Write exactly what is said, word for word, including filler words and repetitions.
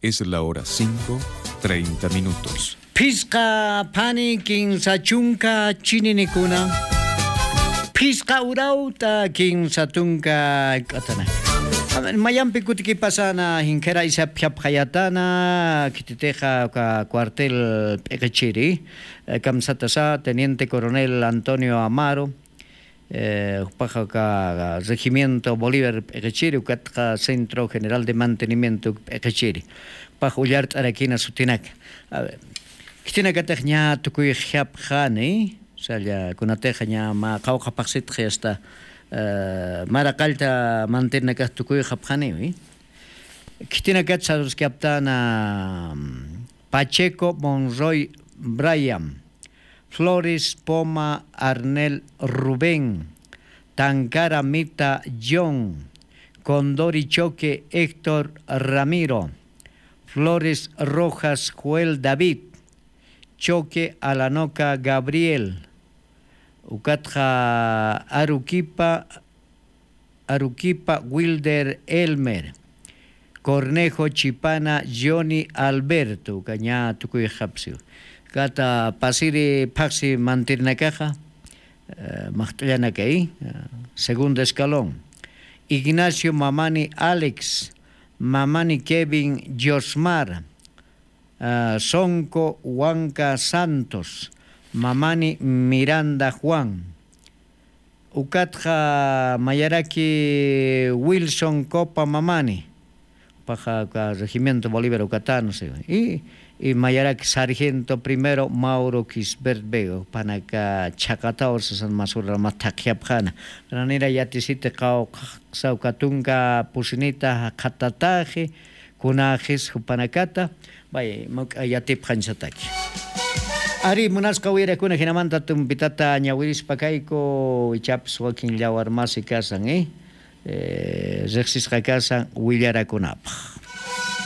Es la hora cinco, treinta minutos. Phisqa phani kinsa chunka chininikuna. Phisqa urawta kinsa tunka k'atana. Mayampi kutikipasana jinkhira isapjapxayatana khititixa uka cuartel p'iqichiri. Kamsatasa teniente coronel Antonio Amaro, jupaxa uka regimiento Bolívar p'iqichiri ukatxa centro general de mantenimiento p'iqichiri. Jupax ullart'arakina sutinaka. Khitinakatix ña tukuyxapxani. Salla kunatixa ña mä qawqha phaxsitxi asta maraqallta mantirnakax tukuyxapxaniwi. Khitinakat saruskaptana, Pacheco Monroy Brian, Flores Poma Arnel Rubén, Tancara Mita John, Condori Choque Héctor Ramiro, Flores Rojas Joel David, Choque Alanoca Gabriel, ukatxa Aruquipa Aruquipa Wilder Elmer, Cornejo Chipana Johnny Alberto, uka ña tukuyxapsiw. Kata pasiri phaxsi mantirnakaxa, maxt'allanakay, segundo escalón. Ignacio Mamani Alex, Mamani Kevin Josmar, Sonco Huanca Santos, Mamani Miranda Juan. Ukatxa mayaraki Wilson Copa Mamani, paxa regimiento Bolívar ukatanu siwa. Y mayaraki sargento primero Mauro Quisbert Vega, panaka chhaqataw sasan masura mathaqyapxana. Ranira yatisiti qawqsa uka tunka pusinita jaqhatataxi, kunaxis jupanakata. Bay muk'a yatipxañsataki. Ari munasqa wirakuna jinamanta tumpitata ñawirispa kayku, ichapis wakin llawar masi kasan, rejsisqa kasan willarakunapaq.